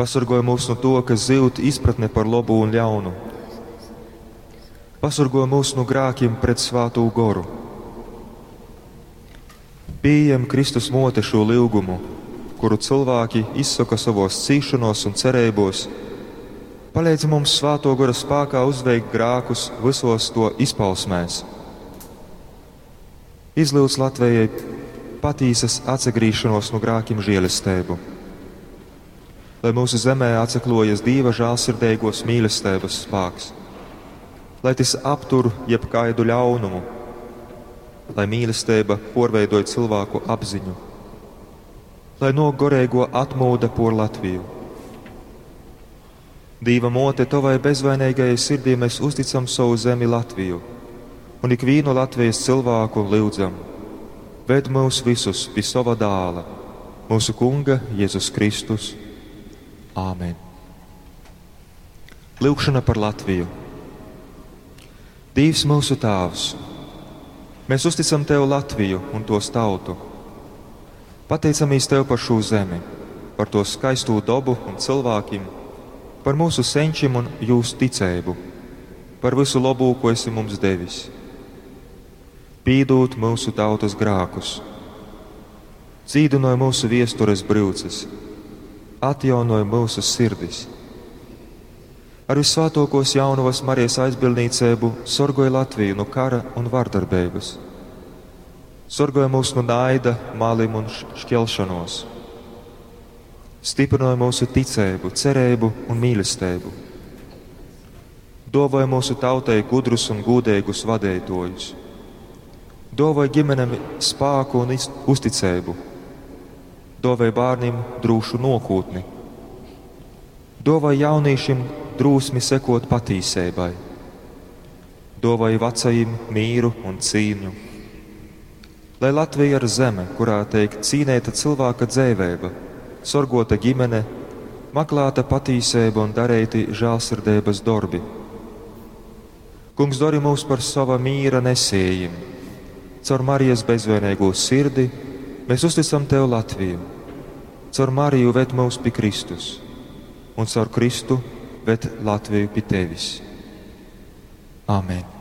Pasorgoj mūs nu to, ka zyud izpratne par lobu un ļaunu. Pasorgoj mūs nu grākiem pret Svātū Goru. Piejem Kristus mote šo lyugumu, kuru cilvēki izsaka savos cīšanos un cereibos. Palīdzi mums Svāto Gora spākā uzveikt grākus visos to izpausmēs. Izlūdz Latvijai patīsas atsagrīšanos no grākiem žēlestēbu. Lai mūsu zemē atsaklojas Dieva žēlsirdīgos mīlestības spāks, lai tas aptur jebkaidu ļaunumu, lai mīlestība porveidoja cilvēku apziņu, lai no gorēgo atmūda por Latviju. Dīva mote, tavai bezvainīgajai sirdī mēs uzticam savu zemi Latviju un ikvienu Latvijas cilvēku lūdzam. Ved mūs visus pie sava dāla, mūsu Kunga Jēzus Kristus. Āmen. Lūgšana par Latviju. Dievs mūsu Tēvs, mēs uzticam Tev Latviju un tos tautu. Pateicamies Tev par šo zemi, par to skaisto dabu un cilvēkiem, par mūsu senčiem un jūsu ticību, par visu labo, ko esi mums devis. Pīdūt mūsu tautas grākus, dzīdinoj mūsu viestures brūces, atjaunoj mūsu sirdis. Ar visvētākos jaunavas Marijas aizbildniecību sorgoj Latviju no kara un vardarbības. Sorgoj mūs no naida, malim un šķelšanos. Stiprinoj mūsu ticību, cerību un mīlestību. Dovoj mūsu tautai gudrus un gūdīgus vadītājus. Dovoj ģimenēm spāku un uzticību. Dovoj bērniem drūšu nokūtni. Dovoj jauniešiem drūsmi sekot patīsībai. Dovoj vecajiem mīru un cīņu. Lai Latvija ir zeme, kurā tiek cīnīta cilvēka dzēvēba, sorgota ģimene, maklāta patīsība un darīti žēlsirdības darbi. Kungs dori mūs par sava mīra nesējiem. Caur Marijas bezvainīgo sirdi mēs uzticam Tev Latviju. Caur Mariju ved mūs pie Kristus, un caur Kristu ved Latviju pie Tevis. Āmen!